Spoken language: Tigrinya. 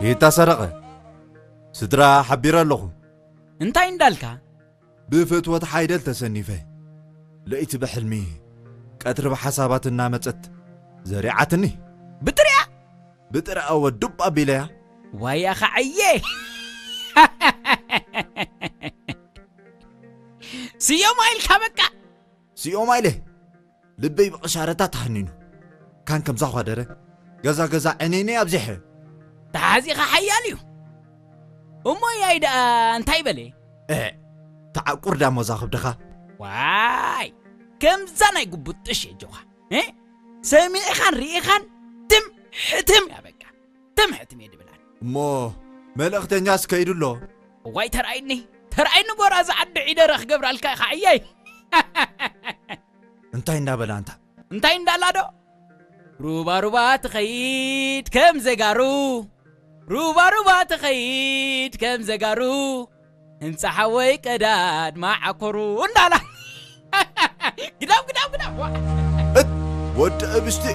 ጌታ ሰረቐ፣ ስድራ ሓቢረ ኣለኹ። እንታይ እንዳልካ? ብፍትወት ሓይደል ተሰኒፈ። ለይቲ ብሕልሚ፣ ቀትሪ ብሓሳባት እናመጸት ዘሪዓትኒ። ብጥሪኣ? ብጥሪኣ ወ ዱብ ኣቢለያ። ዋያ ኸዓየ። ስዮማ ኢልካ በቃ። ስዮማ ኢለ። ልበይ ብቕሻረታ ተሃኒኑ። ካን ከምዛ ኳደረ። ገዛ ገዛ ዕኔነይ ኣብዚሐ። ተሓዚኻ ሓያል እዩ። እሞ ያይ ደኣ እንታይ በለ? እ፣ ተዓቁር ዳሞ ዛኽብድኻ። ዋይ፣ ከምዛ ናይ ጉቡጥ ጥሽ የጆኻ። እ? ሰሚዕኻን ርኢኻን ትም ሕትም እያ በቃ። ትም ሕትም እየ ድብላን። እሞ መልእኽተኛስ ከይዱ ኣሎ? እዋይ ተራእይኒ፣ ተራእይኒ ጎራ ዝዓዲ ዒደረ ክገብራልካ ኢኻ ዕያይ። እንታይ እንዳበላ እንታ? እንታይ እንዳላ ዶ? ሩባ ሩባ ትኸይድ ከም ዘጋሩ፣ ሩባ ሩባ ትኸይድ ከም ዘጋሩ፣ ህንፃ ሓወይ ቀዳድ ማዓኮሩ እንዳላ። ግዳም፣ ግዳም፣ ግዳም። ዋ። እት፣ ወዲ እብስቲ።